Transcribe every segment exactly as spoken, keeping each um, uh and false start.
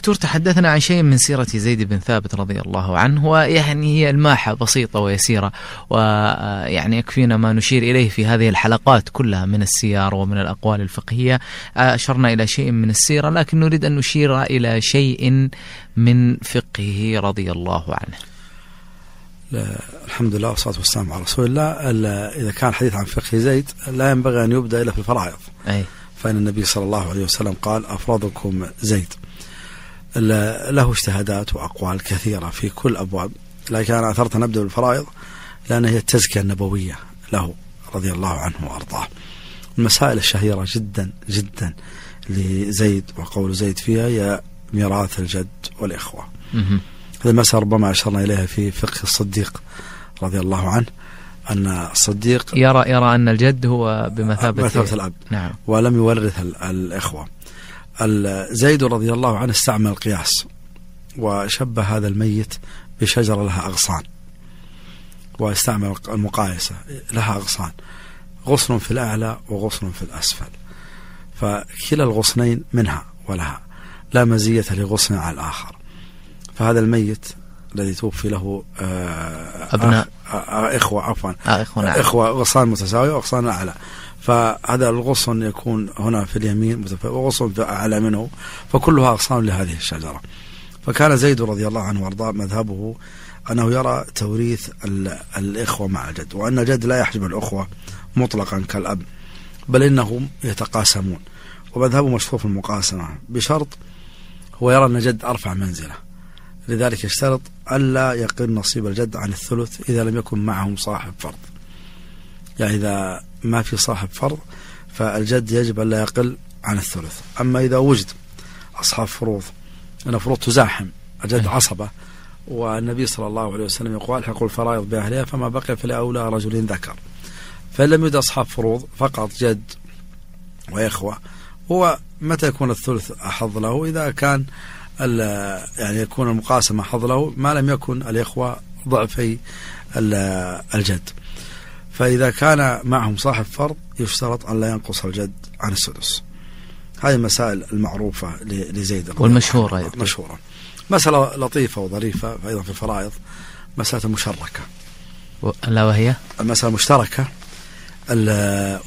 دكتور تحدثنا عن شيء من سيرة زيد بن ثابت رضي الله عنه، ويعني هي الماحة بسيطة ويسيرة، ويعني يكفينا ما نشير إليه في هذه الحلقات كلها من السير ومن الأقوال الفقهية. أشرنا إلى شيء من السيرة، لكن نريد أن نشير إلى شيء من فقهه رضي الله عنه. الحمد لله والصلاة والسلام على رسول الله. إذا كان حديث عن فقه زيد لا ينبغي أن يبدأ إلا في الفرائض، أي. فإن النبي صلى الله عليه وسلم قال أفرضكم زيد. له اجتهادات وأقوال كثيرة في كل أبواب، لكن أنا أثرت نبدأ بالفرائض لأن هي التزكية النبوية له رضي الله عنه وأرضاه. المسائل الشهيرة جدا جدا لزيد وقول زيد فيها هي ميراث الجد والإخوة. هذه المسألة ربما أشرنا إليها في فقه الصديق رضي الله عنه، أن الصديق يرى يرى أن الجد هو بمثابة مثابة الأب، نعم. ولم يورث الإخوة. زيد رضي الله عنه استعمل القياس وشبه هذا الميت بشجرة لها أغصان، واستعمل المقايسة لها أغصان، غصن في الأعلى وغصن في الأسفل، فكلا الغصنين منها ولها، لا مزية لغصن على الآخر. فهذا الميت الذي توفي له أبناء إخوة عفوا إخوة, نعم. إخوة غصان متساوية وغصان أعلى، فهذا الغصن يكون هنا في اليمين وغصن في أعلى منه، فكلها أغصان لهذه الشجرة. فكان زيد رضي الله عنه وارضاه مذهبه أنه يرى توريث الإخوة مع الجد، وأن الجد لا يحجب الأخوة مطلقا كالأب، بل إنهم يتقاسمون، ومذهبه مشهور في المقاسمة بشرط هو يرى أن الجد أرفع منزلة، لذلك يشترط ألا يقل نصيب الجد عن الثلث إذا لم يكن معهم صاحب فرض. يعني إذا ما في صاحب فرض فالجد يجب ألا يقل عن الثلث. أما إذا وجد أصحاب فروض، أن فروض تزاحم الجد عصبة، والنبي صلى الله عليه وسلم يقول الحقوا الفرائض بأهلها فما بقي فلأولى رجل ذكر، فإن لم يوجد أصحاب فروض فقط جد وإخوة، هو متى يكون الثلث أحظ له؟ إذا كان يعني يكون المقاسمة حظ له ما لم يكن الإخوة ضعفي الجد. فإذا كان معهم صاحب فرض يشترط أن لا ينقص الجد عن السدس. هذه المسائل المعروفة لزيد والمشهورة مشهورة. مسألة لطيفة وظريفة أيضا في الفرائض، مسألة مشتركة، لا وهي المسألة المشتركة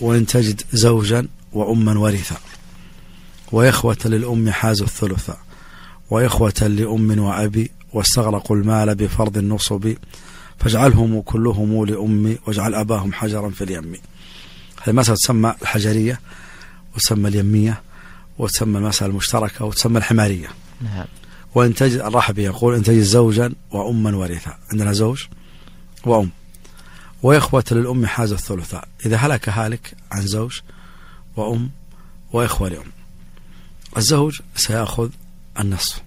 وإن تجد زوجا وأما ورثا وإخوة للأم حازوا الثلث وإخوة لأم وأبي واستغرقوا المال بفرض النصب فاجعلهم كلهم لأمي واجعل أباهم حجرا في اليم. هذه المسألة تسمى الحجرية وتسمى اليمية وتسمى المسألة المشتركة وتسمى الحمارية. نعم. وإن تجد الرحبي يقول إن تجد زوجا وأما ورثا، عندنا زوج وأم وإخوة للأم حاز الثلثاء، إذا هلك هالك عن زوج وأم وإخوة لأم، الزوج سيأخذ النصف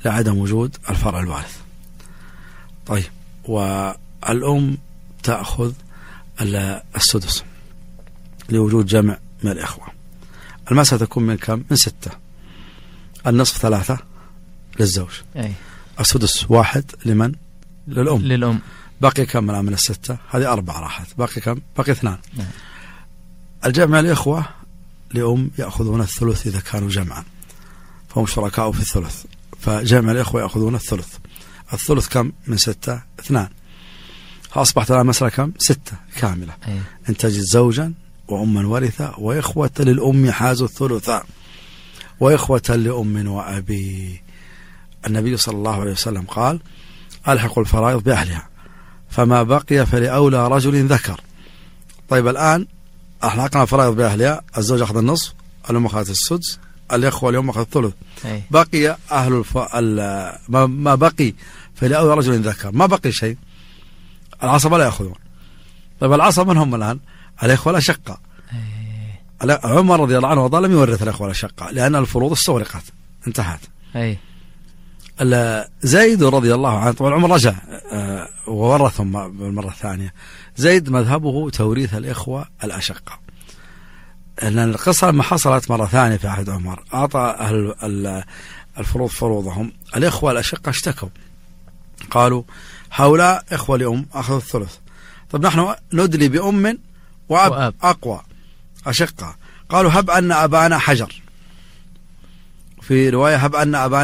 لعدم وجود الفرع الوارث. طيب، والأم تأخذ السدس لوجود جمع من الإخوة. المسألة تكون من كم؟ من ستة. النصف ثلاثة للزوج، أي. السدس واحد لمن؟ للأم. للأم. باقي كم من الستة؟ هذه أربعة راحت، باقي كم؟ باقي اثنان. نعم. الجمع الإخوة لأم يأخذون الثلث إذا كانوا جمعا، فهم شركاء في الثلث، فجمع الإخوة يأخذون الثلث. الثلث كم من ستة؟ اثنان. فأصبحت الآن مسألة كم؟ ستة كاملة. أي. إن تجد زوجا وأما ورثة وإخوة للأم حازوا الثلثاء وإخوة لأم وأبي. النبي صلى الله عليه وسلم قال ألحقوا الفرائض بأهلها فما بقي فلأولى رجل ذكر. طيب الآن أحلقنا الفرائض بأهلها، الزوج أخذ النصف، الأم أخذت السدس، الإخوة اليوم أخذ الثلث. أي. بقي أهل الف... ال... ما... ما بقي فلأولى رجل ذكر، ما بقي شيء، العصبة لا يأخذون. طيب العصبة من هم الآن؟ الإخوة الأشقة. عمر رضي الله عنه وارضاه لم يورث الإخوة الأشقة لأن الفروض استغرقت انتهت. أي. زيد رضي الله عنه طبعا عمر رجع آه وورثهم بالمرة الثانية. زيد مذهبه توريث الإخوة الأشقة، لأن القصة لما حصلت مرة ثانية في عهد عمر أعطى أهل الفروض فروضهم، الإخوة الأشقة اشتكوا قالوا هؤلاء إخوة لأم أخذوا الثلث، طب نحن ندلي بأم وأب, وأب. أقوى أشقة، قالوا هب أن أبانا حجر، في رواية هب أن أبانا